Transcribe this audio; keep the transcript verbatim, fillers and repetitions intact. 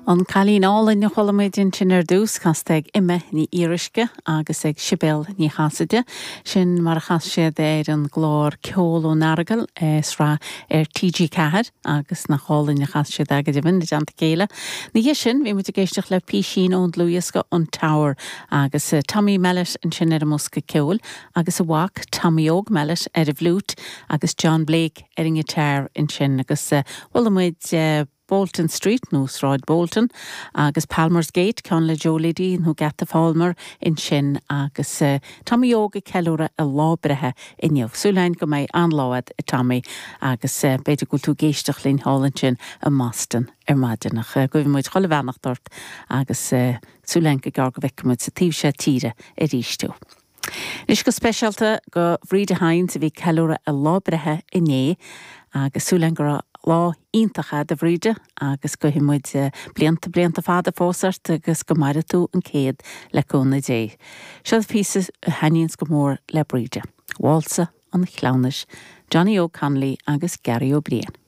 An Cailín Álainn a chuala muid ansin ar dtús casta ag Emma Ní Fhíoruisce agus ag Sibéal Ní Chasaide, sin mar a chas siad ar an gclár Ceol ón Earagail sraith ar TG Ceathair agus nach álainn a chas siad go deimhin i dteannta chéile. Ina dhiaidh sin bhí muid ag éisteacht le písín ón dlúthdhiosca an Tower agus eh, Tommy Mellett ansin ar an mbosca ceoil agus a mhac Tommy Óg Mellett ar an bhfliúit agus John Blake ar an ngiotár ansin agus uh, bhuel muid uh, Bolton Street nó Sráid Bolton agus Palmer's Gate ceann le Joe Liddy nó Geata Phalmer ansin agus uh, Tommy Óg ag ceiliúradh a lá breithe inniu. Súil go mbeidh an-lá ag Tommy agus uh, b'fhéidir go bhfuil tú ag éisteacht linn thall ansin i mBoston ar maidin ach uh, guímid chuile bheannacht ort agus uh, súil go gearr go bhfeicfimid sa taobh seo tíre arís tú. Anois go speisialta do Bhríde Hynes a bhí ceiliúradh a lá breithe inné agus súil go raibh lá iontach agat a Bhríde agus guímid blianta blianta fada fós ort agus go maire tú an céad le cúnamh Dé. Seo píosa a thaitníonns go mór le Bríde. Válsa an Chleamhnais, Johnny O'Connolly agus Gary O'Brien.